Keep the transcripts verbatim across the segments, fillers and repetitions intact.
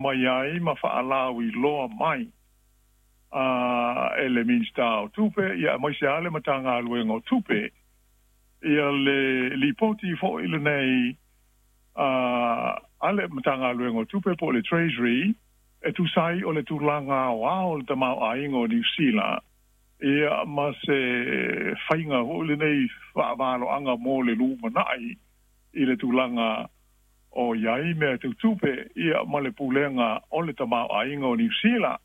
Mai ai ma faalauiloa mai a e le Minisita o Tupe ia aemaise lava le Matagaluega o Tupe ia le lipoti foi lenei a a le Matagaluega o Tupe po o le Treasury e tusa ai o le tulaga aoao o le tamaoaiga o Niu Sila ia ma se faiga foi lenei faavaloaga mo le lumanai i le tulaga o i ai mea tau tupe ia ma le pulega o le tamaoaiga o Niu Sila.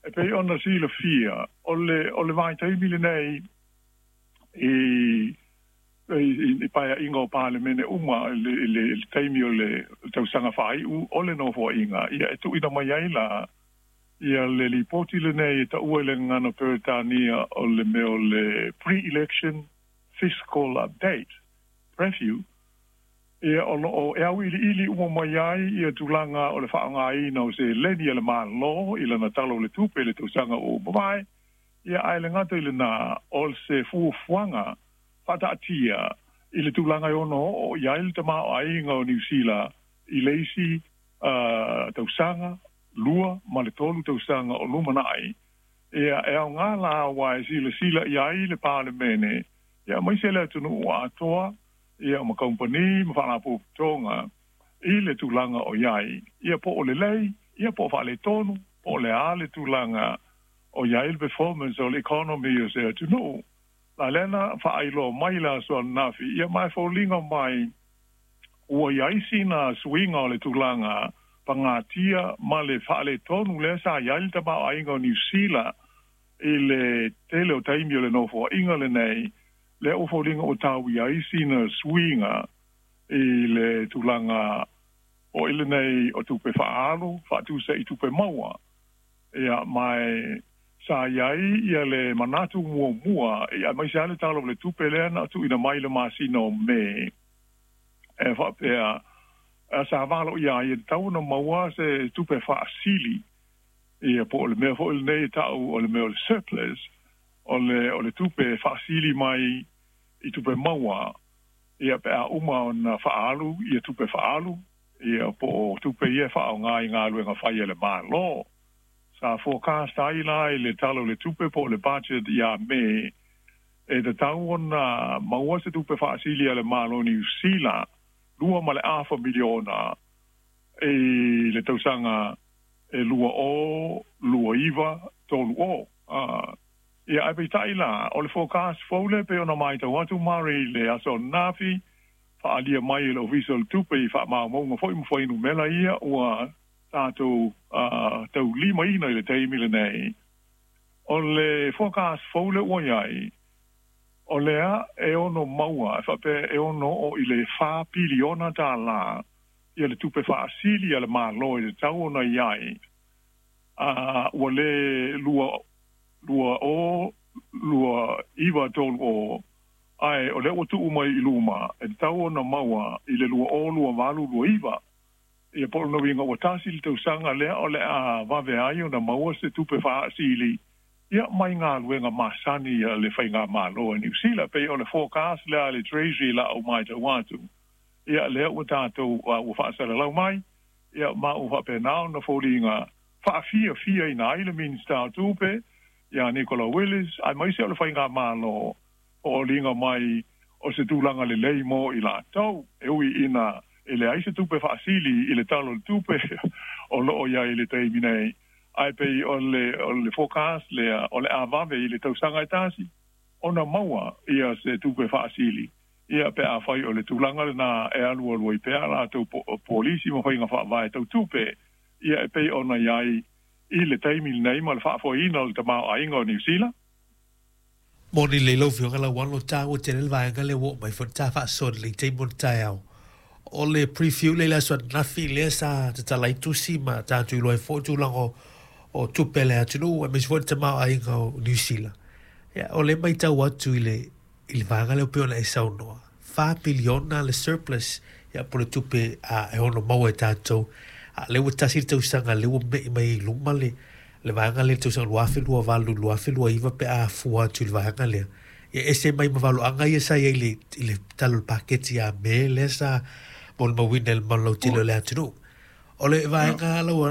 E pei ona silafia, o le o le vaitaimi lenei i i paeaiga o Palemene uma i le, i le taimi o le tausaga faaiu o le nofoaiga, ia e tuuina mai ai la ia le lipoti lenei e taua i le gagana Peretania o le mea o le Pre-Election Fiscal Update, PREFU, ia o loo e auiliili uma mai ai ia tulaga o le faaaogaina o seleni a le Malo i lana Tala o le Tupe i le tausaga ua mavae, ia ae le gata i lena o se fuafuaga faataatia i le tulaga e ono oo i ai le tamaoaiga o Niu Sila i le isi uh, tausaga, lua ma le tolu tausaga o lumanai. Ia e aoga la aua e silasila i ai le Palemene ia aemaise le atunuu atoa ia ma kamupani ma faalapotopotoga i le tulaga o i ai ia po o lelei ia po o faaletonu po o le a le tulaga o i ai le performance o le economy o se atunuu. La lea na faailoa mai le aso ananafi ia ma e foliga mai ua i ai sina suiga o le tulaga pagatia ma le faaletonu lea sa i ai le tamaoaiga o Niu Sila i le tele o taimi o le nofoaiga lenei, lea ua foliga ua tau i ai sina suiga i le tulaga o i lenei o tupe faaalu faatusa i tupe maua. Ia ma e sa i ai ia le manatu muamua ia aemaise lava le Tala o le Tupe lea na tuuina mai i le masina o Me e faapea sa valo ia ai e tatau ona maua se tupe faasili ia po o le mea foi lenei e tau o le mea o le surplus o le o le tupe faasili mai i tupe maua ia pe a uma ona faaalu ia tupe faaalu ia po o tupe ia e faaaoga i galuega fai a le Malo. Sa forecast ai la i le Tala o le Tupe po o le budget ia Me e tatau ona maua se tupe faasili a le Malo o Niu Sila lua ma le afa miliona i le tausaga e lua o lua iva tolu o. Uh, ia ae peitai la, o le forecast fou lea pei ona matau atu Murray i le aso ananafi, faaalia mai e le Ofisa o le Tupe i faamaumauga foi ma fuainumera ia ua tatou uh, taulimaina i le taimi lenei. O le forecast fou lea ua i ai, o lea e ono maua, e faapea e ono oo i le fa piliona tālā ia le tupe faasili a le Malo e tatau ona i ai, uh, ua le lua, lua o, lua iva tolu o, ae o lea ua tuu mai i luma, e tatau ona maua i le lua o, lua valu, lua iva. Ia po o lona uiga ua tasi le tausaga lea o le a vave ai ona maua se tupe faasili ia mai galuega masani a le faigamalo a Niu Sila. Pei o le forecast lea a le Treasury la au matau atu ia lea ua tatou uh, ua faasalalau mai ia ma ua faapena ona foliga faafiafiaina ai le Minisita o Tupe ia Nicola Willis aemaise o le faigamalo o oliga mai o se tulaga lelei mo i latou e ui ina e leai se tupe faasili i le Tala o le Tupe o loo i ai i le taimi nei, ae pei o le o le forecast lea o le a vave i le tausaga e tasi ona maua ia se tupe faasili ia pe afai o le tulaga lena e alualu ai pea latou polisi ma faiga faavae tau tupe ia e pei ona i ai i le taimi lenei ma le faafoeina o le tamaoaiga o Niu Sila. Moni lelei lau Afioga Lauano, taua tele le vaega lea ua oo mai foi le ta faasoa i le taimi o le taeao. O le preview lea i le aso ananafi lea sa tatala ai tusi ma tatou iloa ai foi tulaga o, o tupe a le atunuu aemaise foi le tamaoaiga o Niu Sila. Ia, o lea matau atu i le, i le vaega lea pei ona e saunoa, fa piliona le surplus ia po o le tupe a, e ono maua e tatou. A, lea ua tasi le tausaga lea ua me'i mai i luma le, le vaega lea i le tausaga lua afe lua valu lua afe lua iva pe a fua atu i le vaega lea. Ia ese mai ma valoaga ia sa i ai i le, i le tala o le paketi a Me lea sa molimauina i le malu lautele o le atunuu. O le vaega lau